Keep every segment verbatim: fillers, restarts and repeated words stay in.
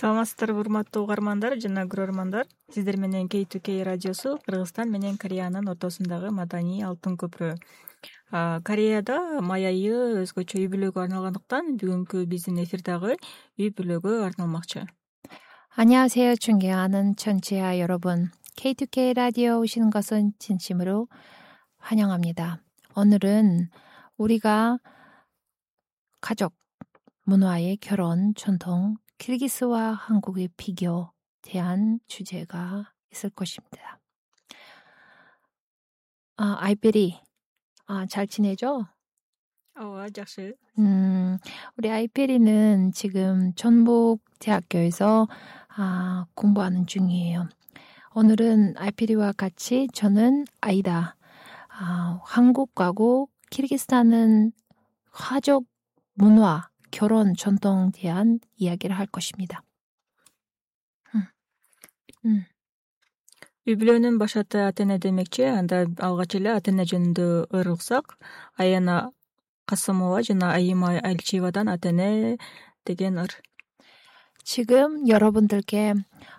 Саламатсыздарбы урматтуу угармандар жана көрөрмандар. Сиздер менен кей ту кей радиосу Кыргызстан менен Кореянын ортосундагы маданий алтын көпүрө. Кореяда май айы өзгөчө үй бүлөгө арналгандыктан бүгүнкү биздин эфир дагы үй бүлөгө арналмакчы. 안녕하세요. 존경하는 청취자 여러분. 케이 투 케이 라디오 오시는 것은 진심으로 환영합니다. 오늘은 우리가 가족, 문화의 결혼, 전통, 키르기스와 한국의 비교 대한 주제가 있을 것입니다. 아, 아이페리, 아, 잘 지내죠? 어, жақсы. 음, 우리 아이페리는 지금 전북대학교에서 아, 공부하는 중이에요. 오늘은 아이페리와 같이 저는 아이다. 아, 한국하고 키르기스탄은 가족, 문화, 결혼, 전통에 대한 이야기를 할 것입니다. 음. 음. Үй бүлөнүн баш аты ата-эне демекчи. Анда алгач эле ата-эне жөнүндө ыйрылсак, Аяна Касымова жана Айыма Альчиевадан ата-эне деген ыр. 지금 여러분들께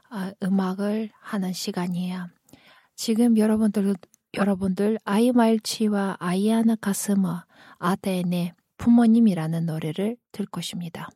아, 음악을 하는 시간이에요. 지금 여러분들 여러분들 아이마일치와 아이아나 가스머 아테네 부모님이라는 노래를 들 것입니다.